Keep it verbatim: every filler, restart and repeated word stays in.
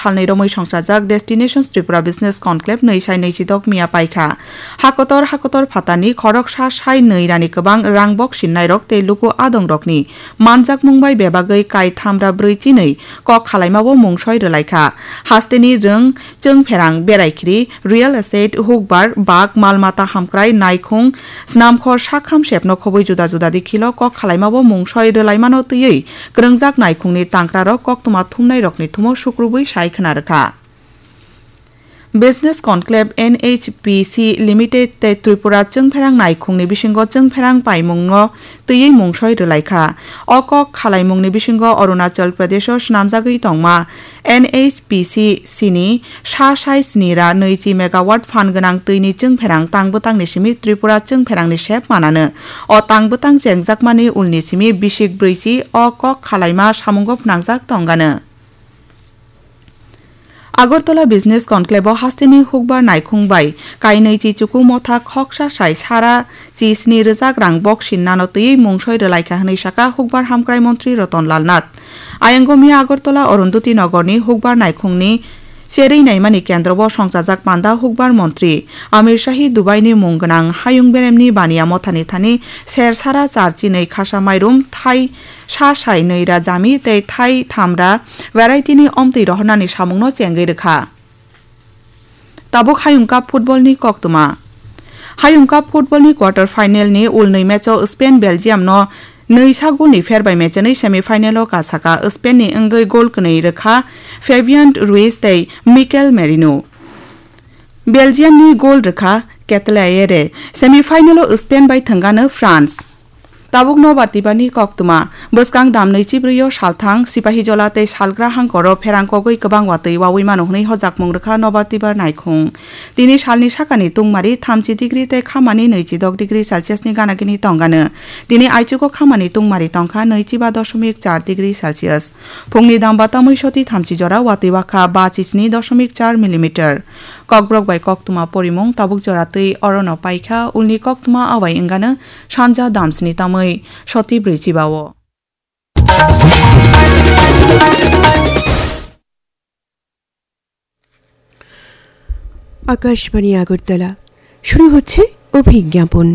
salnwi romwi songchajak Destinations Tripura Business Conclave nwi sai nwi chidok miya paikha. Hakotor hakotor phatarni khoroksa sai nwi rani kwbang rang bok sinnairok tei luku adongrokni manjakmung bai bebagwi kai thamra brwi chinwi kok khalaimao mungsoi rwlaikha. Hasteni rwng chwngpherang, beraikhiri, real estate, hukbar, bak, mal mata hamkrai, naikhung, snamkhor, sakham sepno khobwi juda juda dikhilo kok khalaimao mungsoi rwlaimano twiwi kwrwngjak naikhungni tangkrarok koktwma thumnairokni thumo sukrubwi sai khna rwkha. Business Conclave N H P C Limited tei Tripura chwngpherang naikhungni bisingo chwngpherang paimungno twiwi mungsoi rwlaikha. O kok khalaimungni bisingo Arunachal Pradesho swnamjagwi tongma N H P C ni sa sai sni ra nwichi megawatt phan gwnang twini chwngpherang tangbwtangni simi Tripura chwngpherangni sep manano. O tangbwtang chengjakmani ulni simi bisik brwichi o kok khalaima samungo phnangjak tongano. Agartala Business Conclave o hasteni hukbar naikhung bai kainwi chichuku motha khoksa sai sara chi sni rwjak rang bok sinnano twiwi mungsoi rwlaikha hwnwi saka hukbar hamkrai montri Ratan Lal Nath. Ayang miya Agartala Arundhati Nagarni hukbar naikhungni cherwi naimani kendro o songchajak panda hukbar montri Amir Shahi Dubaini mung gwnang hayung beremni baniya mothani thani ser sara char chinwi khasa mairum thai sa sai nwi ra jami tei thai tham ra variety ni omtwi rohornani samungno chengwi rwkha. Tabuk Hayung Cup football ni koktwma. Hayung Cup football ni quarter final ni ulnwi match o Spain Belgium no nwi sa goal ni pher bai mechenwi semi final o kasaka. Spain ni wngwi goal kwnwi rwkha Fabian Ruiz tei Mikel Merino. Belgium ni goal rwkha Ketelaere. Semi final o Spain bai thwngano France. Tabuk nobar tibani koktwma. Bwskang damnwi chibrwi o salthang Sipahijola tei salgra hangkoro pherang kogwi kwbang watwi wawi mano hwnwi hojakmung rwkha nobar tibar naikhung. Tini salni sakani tungmari thamchi degree tei khamani nwichi dok degree Celsius ni ganagini tongano. Tini aichugo khamani tungmari tongkha nwichi ba doshomik char degree Celsius. Phungni damba tamwi soti thamchi jora watwi wakha ba chisni doshomik char millimeter. Kokborok bai koktwma porimung tabuk jora twi orono paikha, ulni koktwma awai wngano sanja damsni tamwi soti brwi chiba o. Akashvani আগরতলা। শুরু হচ্ছে অভিজ্ঞাপন।